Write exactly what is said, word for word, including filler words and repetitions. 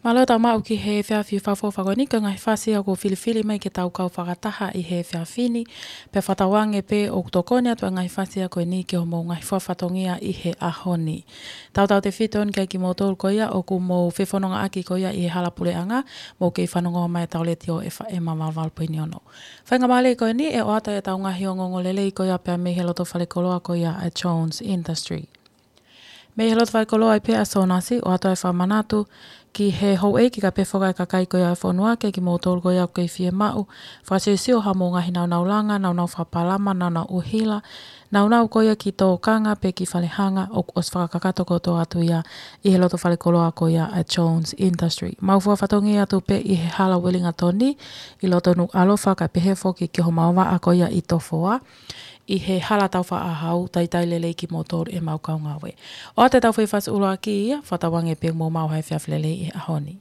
Mālō e tau maʻu ki he efiafi fakaʻofoʻofa ko eni, ko e ngaahi fasi ʻoku filifili mai ke tau kau fakataha ʻi he efiafi ni, pea fakatauange pē ʻoku tokoni atu e ngaahi fasi ko eni ki hoʻomou ngaahi fakafatongia ʻi he ʻaho ni. Tautautefito eni kiate kimoutolu ko ia ʻoku mou fefonongaʻaki ko ia ʻi he hala puleʻanga, mou kei fanongo mai ʻetau letiō F M valu valu poini ono. Faingamālie ko eni ʻe ʻoatu ʻetau ngaahi ongoongo lelei ko ia pea mei he loto falekoloa ko ia ʻa e Jones Industry. Mei he loto falekoloa ʻi pē ʻa Sōnasi, ʻoatu e fakamanatu ki he houʻeiki kae pehē foki ki he kakai ko ia ʻo e fonua, kiate kimoutolu ko ia ʻoku kei fiemaʻu fakasiosio haʻamou ngaahi nāunaulanga, nāunau fakapalama, nāunau ʻuhila, nāunau ko ia ki tōkanga pe ki falehanga, ʻoku ʻosi fakakakato kotoa atu ia ʻi he loto falekoloa ko ia ʻa e Jones Industry. Mau fakafatongia atu pē ʻi he hala Uelingatoni, ʻi loto Nukuʻalofa kae pehē foki ki homau vaʻa ko ia ʻi Tofoa, ʻi he hala taufaʻāhau. Talitali lelei kimoutolu ʻemau kau ngāue. ʻOatu ʻetau foʻi fasi ʻuluaki ia, fakatauange pē ʻoku mou maʻu ha efiafi lelei ʻi he ʻaho ni.